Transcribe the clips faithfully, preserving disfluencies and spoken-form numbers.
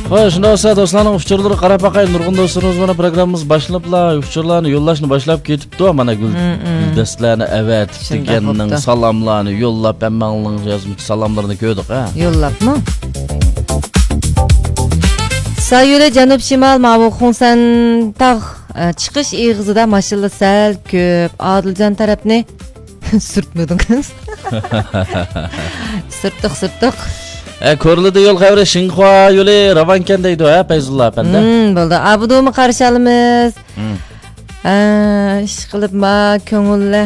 خوش، شۇنداق بولسا دوستلارنىڭ ئۇچۇرلىرىغا قاراپ باقايلى. نۇرغۇن دوستلىرىمىز مانا پروگراممىمىز باشلىنىپلا ئۇچۇرلارنى يوللاشنى باشلاپ كېتىپتۇ. مانا گۈل، مم، مم. گۈلدەستىلەرنى ئەۋەتىپ، شۇنداق دېگەننىڭ بوپتۇ. سالاملارنى يوللاپ، ھەممەڭلارنىڭ يازمىچى سالاملىرىنى كۆردۇق، ھە. يوللاپمۇ؟ سايولى جەنۇب شىمال ماۋۇ خۇڭسەن تاغ، ئە، چىقىش ئېغىزىدا ماشىنىلار سەل كۆپ. ئادىلجان تەرەپنى سۈرتمىدىڭىز. سۈرتتۇق، سۈرتتۇق. ئە، كورلىدا يول خەۋىرى شىنخۇا يولى راۋانكەن دەيدۇ، ھە، پەيزۇللا ئەپەندى؟ مم، بولدى. ئابدۇمۇ قارشى ئالىمىز. مم. ئە، ئىشقىلىپ ما كۆڭۈللە.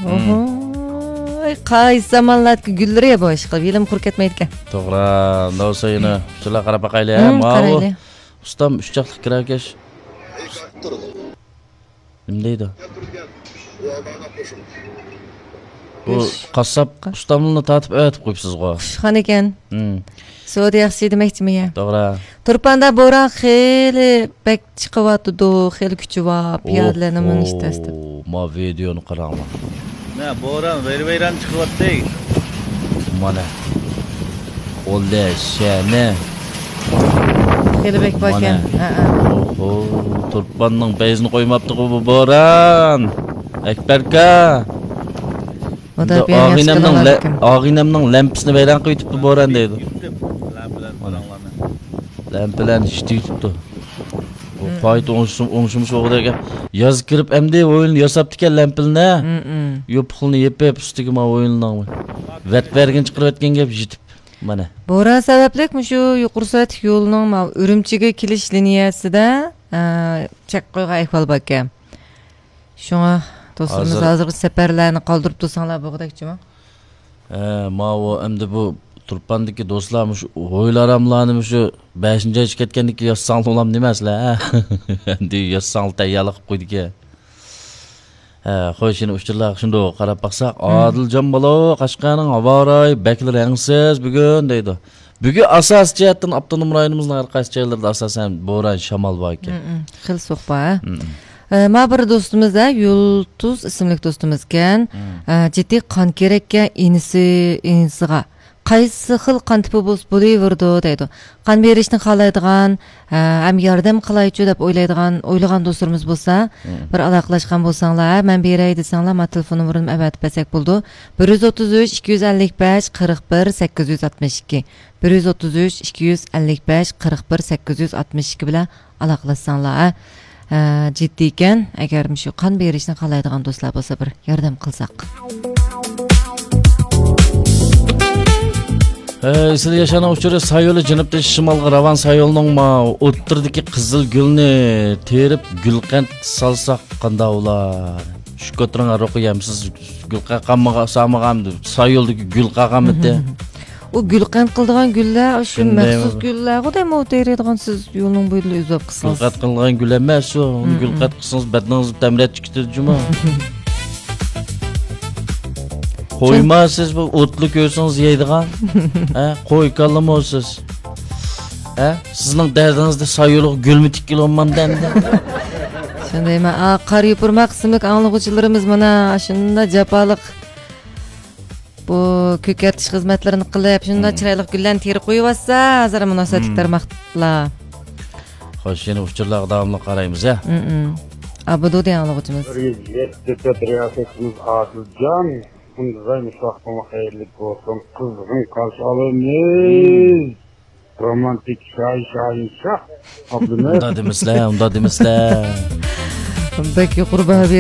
مم. ئوھوي، قايسى زامانلاردىكى گۈللىرى بۇ، ئىشقىلىپ يىلىم قۇرۇپ كەتمەيدىكەن. توغرا، ئۇنداق بولسا يەنە شۇلار قاراپ باقايلى، ھە، مم، ماۋۇ. قارايلى. ئۇستام ئۈچ چاقلىق كىرەركەش. نېمە دەيدۇ؟ بۇ قاسساپ قا- ئۇستامنى تارتىپ ئەۋەتىپ قويۇپسىزغۇ. قۇشخان ئىكەن. ھىم. سودا ياخشى دېمەكچىمۇ يا؟ توغرا. تۇرپاندا بوران خېلى بەك چىقىۋاتىدۇ، خېلى كۈچى بار. پىيادىلەرنى مىنىش تەس دەپ. ئوھو، ما ۋىدېئونى قاراڭلار. نە، بوران ۋەيران-ۋەيران چىقىۋاتتى. مانا. ئولدە شەنە. خېلى بەك باركەن. مانا. ھەئە. ئوھو، تۇرپاننىڭ پەيزىنى قويماپتىغۇ بۇ بوران. ئەكبەركا. ئاغىنەمنىڭ لە-، ئاغىنەمنىڭ لەمپىسىنى ۋەيران قىلىۋېتىپتۇ بوران دەيدۇ. مانا. لەمپىلەرنى ئىشلىتىۋېتىپتۇ. بۇ مم. پايىت ئوڭشىم-، ئوڭشىمىش ئوغۇدەك. ياز كىرىپ ئەمدى ئويۇن ياساپتىكەن لەمپىلىنى. مم، مم. يوپۇقلىنى يېپىپ، ئۈستىگە ما ئويۇننىڭ ۋەت بەرگىنى چىقىرىۋەتكەن گەپ يېتىپ. مانا. بوران سەۋەبلىك مۇشۇ يۇقىرى سۈرئەتلىك يولنىڭ ما ئۈرۈمچىگە كېلىش لىنىيەسىدە، ئە، چەك قويغان ئەھۋال باركەن. شۇڭا دوستلىرىمىز ھازىر ھازىرغىچە سەپەرلەرنى قالدۇرۇپ تۇرساڭلار بولغۇدەكچىمۇ؟ ھە، ماۋۇ ئەمدى بۇ تۇرپاندىكى دوستلار مۇشۇ ھويلا-ھاراملارنى مۇشۇ بەشىنچى ئايچە كەتكەندىن كېيىن ياسىساڭلار بولامدۇ ئەمەسلەر، ھە؟ ئەمدى ياسىساڭلار تەييارلىق قىلىپ قويدىكەن. ھە، خوش، يەنە ئۇچۇرلارغا شۇنداق قاراپ باقساق، مم. ئادىلجان بالا، قەشقەرنىڭ ھاۋا رايى بەكلا رەڭسىز بۈگۈن دەيدۇ. بۈگۈن ئاساسىي جەھەتتىن ئاپتونوم رايونىمىزنىڭ ھەر قايسى جايلىرىدا ئاساسەن بوران، شامال بار ئىكەن. مم، مم. خېلى سوغۇق بار، ھە؟ مم، مم. ئە، ما بىر دوستىمىز، ھە، يۇلتۇز ئىسىملىك دوستىمىزكەن. مم. ئە، جىددىي قان كېرەككەن ئىنىسى، ئىنىسىغا. قايسى خىل قان تىپى بولسا بولۇۋېرىدۇ دەيدۇ. قان بېرىشنى خالايدىغان، ھە، ھەم ياردەم قىلايچۇ دەپ ئويلايدىغان، ئويلىغان دوستلىرىمىز بولسا، مم. بىر ئالاقىلاشقان بولساڭلار، ھە، مەن بېرەي دېسەڭلار، ما تېلېفون نومۇرۇمنى ئەۋەتىپ بەرسەك بولىدۇ. بىر يۈز ئوتتۇز ئۈچ، ئىككى يۈز ئەللىك بەش، قىرىق بىر، سەككىز يۈز ئاتمىش ئىككى. بىر يۈز ئوتتۇز ئۈچ، ئىككى يۈز ئەللىك بەش، قىرىق بىر، سەككىز يۈز ئاتمىش ئىككى بىلەن ئالاقىلاشساڭلار، ھە، جىددىيكەن. ئەگەر مۇشۇ قان بېرىشنى خالايدىغان دوستلار بولسا، بىر ياردەم قىلساق. ئە، ئېسىل ياشارنىڭ ئۇچۇرى سايولى جەنۇبتىن شىمالغا راۋان سايولىنىڭ ما ئوتتۇرىدىكى قىزىل گۈلنى تېرىپ، گۈلقەنت سالساق قانداق بولار؟ شۇ كوترىڭ ھەررۇقى يەمسىز گۈلقەنت قالمىغا-، سالمىغان سايولدىكى گۈل قالغانمىدى؟ ئۇ گۈلقەنت قىلىدىغان گۈللەر، شۇ شۇندايمۇ؟ مەخسۇس گۈللەرغۇ دەيمۇ، تېرىيدىغان سىز يولنىڭ بويىدا ئۈزۈپ قىلسىڭىز. گۈلقەنت قىلىدىغان گۈل ئەمەس ئۇ. ئۇنى مم، گۈلقەنت قىلسىڭىز بەدىنىڭىز تەمرەت چىقىتىدۇ جۇمۇ. قويما سىز بۇ ئوتلۇق كۆرسىڭىز يەيدىغان. ھە، قوي كاللىمۇ سىز. ھە، سىزنىڭ دەردىڭىزدە سايولۇق گۈلمۇ تىككىلى بولمامدۇ ئەمدى؟ شۇندايمۇ؟ ئا، قارا يوپۇرماق ئىسىملىك ئاڭلىغۇچىلىرىمىز مانا شۇنداق جاپالىق بۇ كۆكەرتىش خىزمەتلىرىنى قىلىپ، شۇنداق مم. چىرايلىق گۈللەرنى تېرىپ قويۇۋاتسا، ھازىر مۇناسىۋەتلىك مم. تارماقلار. خوش، يەنە ئۇچۇرلارغا داۋاملىق قارايمىز، ھە؟ مم، مم. ئابدۇ دېگەن ئاڭلىغۇچىمىز. بىر يۈز يەتتە تۆت رىياسەتچىمىز ئادىلجان. ئۇندىزاي مۇشۇ ۋاقتىڭلار خەيرلىك بولسۇن. قىزغىن قارشى ئالىمىز. رومانتىك شاھى شاھىنشاھ ئابلىمىت. ئۇنداق دېمىسىلە، ئۇنداق دېمىسىلە. بەك يۇقىرى باھا